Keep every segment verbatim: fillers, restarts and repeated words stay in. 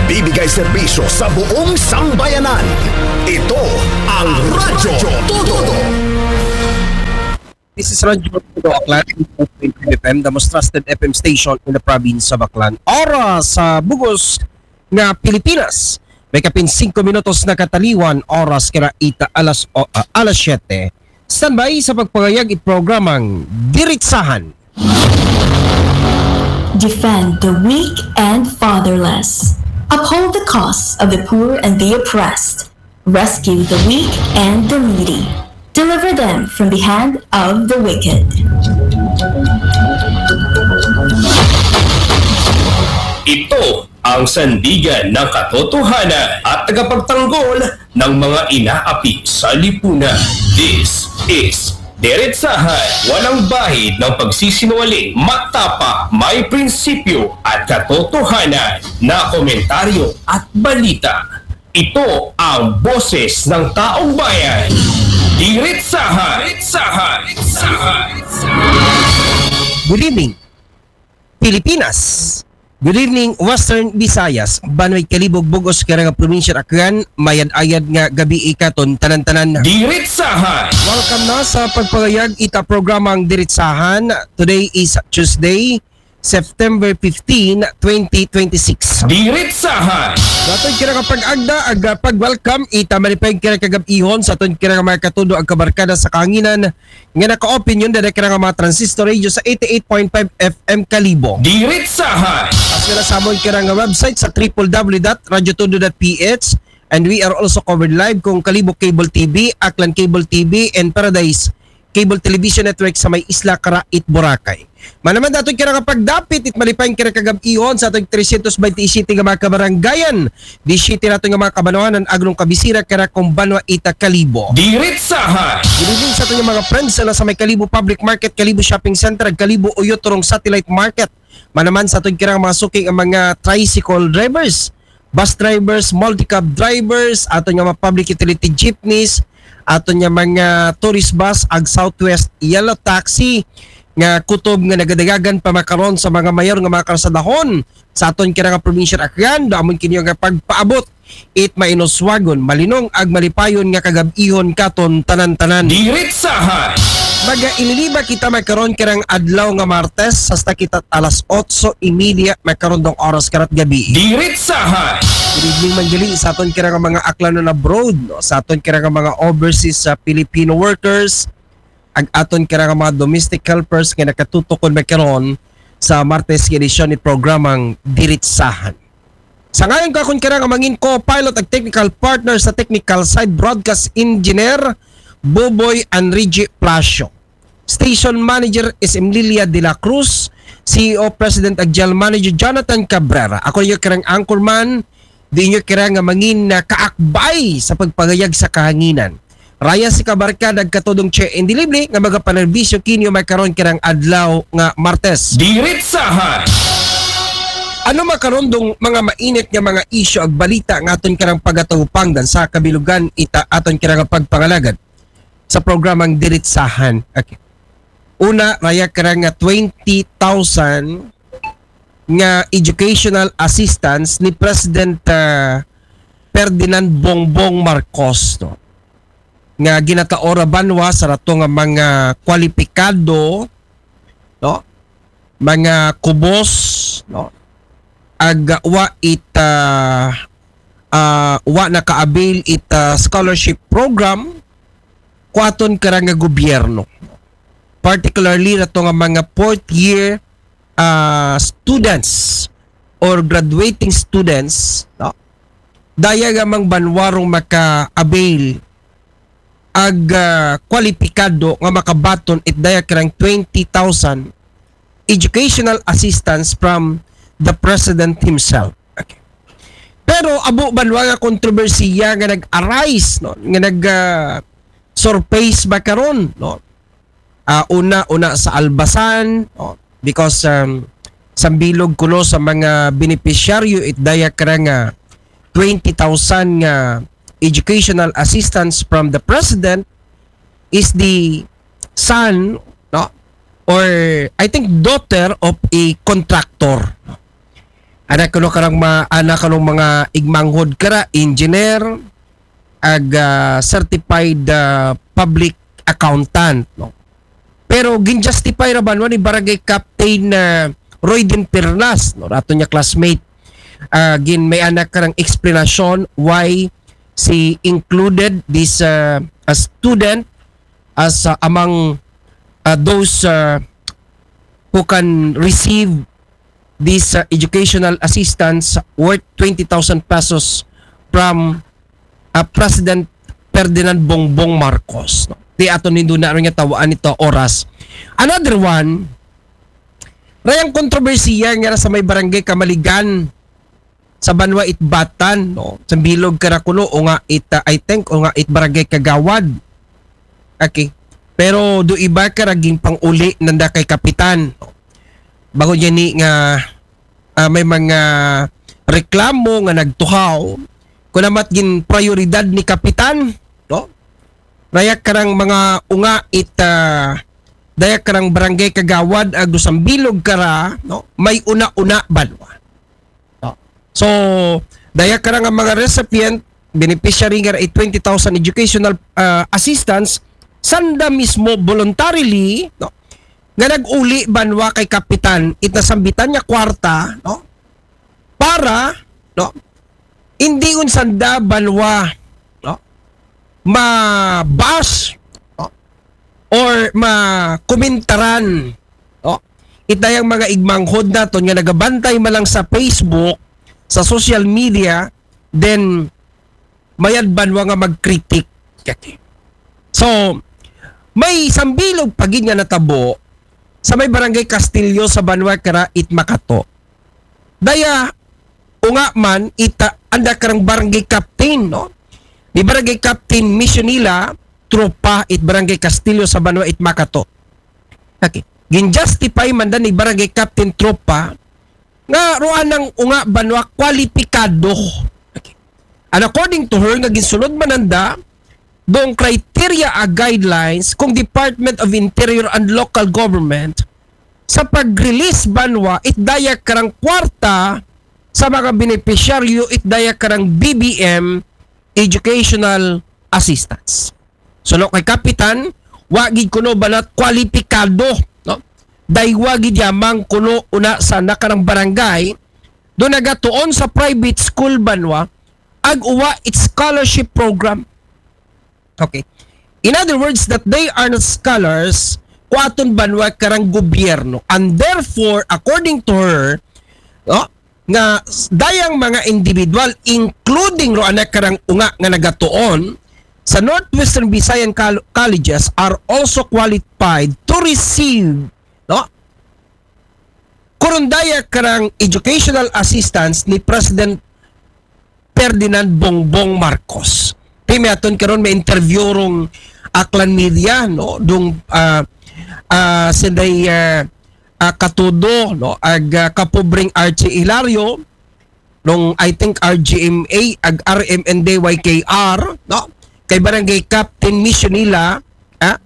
Bibigay serbisyo sa buong sambayanan. Ito ang Radyo Todo. This is Radyo Todo Aklan, F M, the most trusted F M station in the province of Aklan. Oras sa bugos nga Pilipinas. May kapin singko minutos na kataliwan, oras kira ita alas, o, ah, alas siyete. Standby sa pagpangayag i programang Diritsahan. Defend the weak and fatherless. Uphold the cause of the poor and the oppressed. Rescue the weak and the needy. Deliver them from the hand of the wicked. Ito ang sandigan ng katotohanan at tagapagtanggol ng mga inaapi sa lipunan. This is Diretsahan, walang bahid ng pagsisinungaling, matapa, may prinsipyo at katotohanan na komentaryo at balita. Ito ang boses ng taong bayan. Diretsahan. Diretsahan. Diretsahan. Good evening, Pilipinas. Good evening, Western Visayas. Banway Kalibog, bugos kira nga probinsya Aklan, mayad-ayad nga gabi ikaton tanan-tanan. Diretsahan. Welcome na sa pagpangayag ita programang Diritsahan. Today is Tuesday, September fifteen, twenty twenty-six. Diretsahan. Sa aton kira nga pag-agda, ag pag-welcome, ita malipay kira kagab-ihon sa aton kira nga mga katudo ag kabarkada sa kahanginan nga naka-open yun dada kira nga mga transistor radio sa eighty-eight point five F M Kalibo. Diretsahan. As well as sa amon kira nga website sa triple W dot radyo todo dot P H, and we are also covered live kung Kalibo Cable T V, Aklan Cable T V, and Paradise Cable Television Network sa may Isla Carait, Boracay. Manaman daton kira nga pagdapit it malipay kira kagab-ihon sa atong trescientos veintisiete nga mga kabaranggayan, disiete nato nga mga kabanwanan, aglong kabisira kira kung banwa ita Kalibo. Diretsahan. Good evening sa aton nga mga friends sa may Kalibo Public Market, Kalibo Shopping Center, ag Kalibo Uyoturong Satellite Market. Manaman sa aton kira nga mga suking ang mga tricycle drivers, bus drivers, multicab drivers, aton nga mga public utility jeepneys, aton nga mga tourist bus, ag Southwest Yellow Taxi, nga kutob nga nagadagagan pa makaron sa mga mayor nga mga karsadahon sa aton kira nga probinsya Aklan, da amon kinyo nga pagpaabot it mainoswagon, malinong ag malipayon nga kagab-ihon katon tanan-tanan. Diretsahan. Magaililiba kita makaron kirang adlaw nga Martes, hasta kita alas otso y media makaron dong oras karat gabi. Diretsahan. Good evening man gali sa aton kira nga mga Aklanon abroad, no? Sa aton kira nga mga overseas sa Filipino workers, ag aton kira nga mga domestic helpers nga nakatutukod makaron sa Martes nga edisyon ni programang Diritsahan. Sa ngayon ka akon kira nga mangin co-pilot ag technical partner sa technical side, broadcast engineer Boboy Anrigi Plasio. Station Manager is Emlilia de la Cruz, C E O President ag General Manager Jonathan Cabrera. Ako yung kirang anchorman, di nyo kira nga mangin na kaakbay sa pagpangayag sa kahanginan. Raya si kabarkada ag katudong Che Indilible nga magapanerbisyo kinyo makaron kirang adlaw nga Martes. Diretsahan. Ano makaron dong mga mainit nga mga isyu ag balita nga aton kirang pagatupangdan sa kabilugan ita aton kirang pagpangalagad sa programang Diritsahan? Okay. Una, raya kira nga twenty thousand nga educational assistance ni President, ah, Ferdinand Bongbong Marcos, no? Nga ginataora banwa sa rato nga mga kwalipikado, no? Mga kubos, no? Ag wa it, ah, ah, wa naka-avail it, ah, scholarship program, kuaton kara nga gobyerno. Particularly rato nga mga fourth year, ah, students or graduating students, no? Daya nga mang banwarong maka-avail ag, ah, kwalipikado nga makabaton it daya kirang twenty thousand educational assistance from the president himself. Okay. Pero abo banwa nga kontrobersiya nga nag-arise, no, nga nag, ah, surface ba karon, no? Ah, una, una sa Albasan, no? Because, um, sambilog kuno sa mga benepisyaryo it daya kara nga twenty thousand nga educational assistance from the president is the son, no, or I think daughter of a contractor, no? Anak kuno karang ma, anak kanong mga igmanghod kara, engineer, ag ah, certified ah, public accountant, no? Pero gin-justify ra banwa ni Barangay Captain ah, Roy Din Perlas, no? Rato niya classmate. Ah, gin may anak karang explanation why she included this ah, a student as ah, among ah, those ah, who can receive this uh, educational assistance worth twenty thousand pesos from uh, President Ferdinand Bongbong Marcos. No? Ti aton nindo na rin nga tawaan ito oras. Another one, rayang kontrobersiya nga sa may barangay Kamaligan sa banwa it Batan, no? Sa bilog kara kuno, o nga it, uh, I think, o nga it barangay Kagawad. Okay. Pero do iba kara gin panguli nanda kay kapitan. Bago niya ni nga ah, may mga reklamo nga nagtuhaw, kunamat gin prioridad ni kapitan, no? Dayak karang mga unga it ah, dayak karang barangay kagawad ag do sambilog kara, no? May una-una banwa. No? So, dayak karang mga recipient, beneficiary nga it twenty thousand educational ah, assistance, sanda mismo voluntarily, no? Nga nag-uli banwa kay kapitan it nasambitan nga kwarta, no? Para, no? Hindi un sanda banwa, no? Ma-bash, no? Or ma-komentaran, no? Itayang mga igmanghod naton nga nagabantay man lang sa Facebook, sa social media, then mayad banwa nga mag-critic. Okay. So, may sambilog pagid nga natabo sa may barangay Castillo sa banwa kara it Makato. Daya, unga man, ita, anda karang barangay captain, no? Ni barangay captain Misionila, tropa, it barangay Castillo sa banwa it Makato. Okay. Gin-justify man dan ni barangay captain tropa, nga ruan ang unga banwa kwalipikado. Okay. And according to her, nga ginsulod man nanda, dong criteria a guidelines kung Department of Interior and Local Government sa pag-release banwa it daya karang kwarta sa mga benepisyaryo it daya karang B B M educational assistance. So no kay kapitan, wa gid kuno banat kwalipikado, no? Daywa gid yamang kuno una sa nakarang barangay do nagatuon sa private school banwa ag uwa it scholarship program. Okay. In other words, that they are not scholars, kuaton banwa karang gobyerno. And therefore, according to her, no, nga s- dayang mga individual, including ro anak karang unga nga nagatuon, sa Northwestern Visayan Col- Colleges are also qualified to receive, no, kurundaya karang educational assistance ni President Ferdinand Bongbong Marcos. Ti may aton karon may interview rong Aklan Media, no, dung ah ah, sinday ah, ah, katudo, no, ag ah, kapobreng Archie Hilario, nung I think R G M A ag R M N D Y K R, no, kay Barangay Captain Misionila, ah,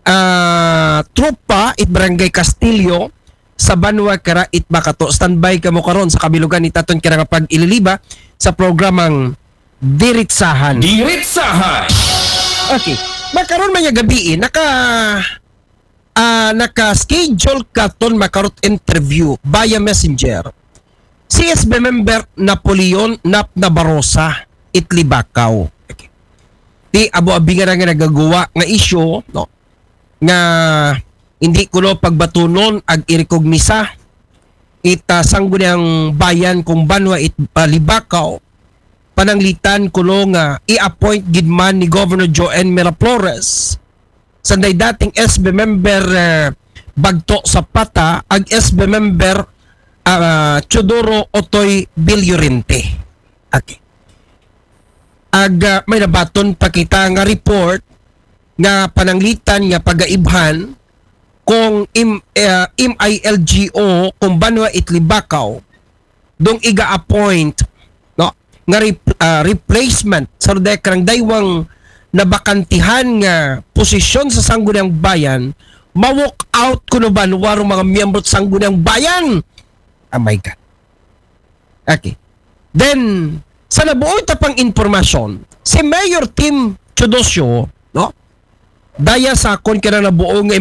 ah, tropa it Barangay Castillo sa banwa kara it Makato. Standby kamo karon sa kabilugan ni taton kira nga pag-ililiba sa programang Diritsahan. Diritsahan. Okay. Makaron man nga gabi, eh, naka ah, naka-schedule katon makarot interview via messenger si S B member Napoleon Nap Nabarosa it Libakaw. Okay. Ti abo abi nga nga nagaguwa nga isyu, no, nga hindi kuno pagbatunon ag irekognisa it ah, sangguniang bayan kung banwa it ah, Libakaw, pananglitan kuno nga i-appoint gid man ni Governor Joanne Miraflores, sanday dating S B member eh, Bagto Zapata ag S B member ah, Teodoro Otoy Villorente. Okay. Ag ah, may nabaton pa kita nga report nga pananglitan nga pagaibhan kung im, eh, M I L G O kung banwa it Libakaw dong iga-appoint, no, nga rep- ah, replacement sa dayang daywang nabakantihan nga posisyon sa Sangguniang Bayan, ma-walk out kuno banwa rong mga miyembro sa Sangguniang Bayan. Oh my God. Okay. Then, sa nabuo ta pang impormasyon, si Mayor Tim Teodosio, no? Daya sa kon kira nabuo nga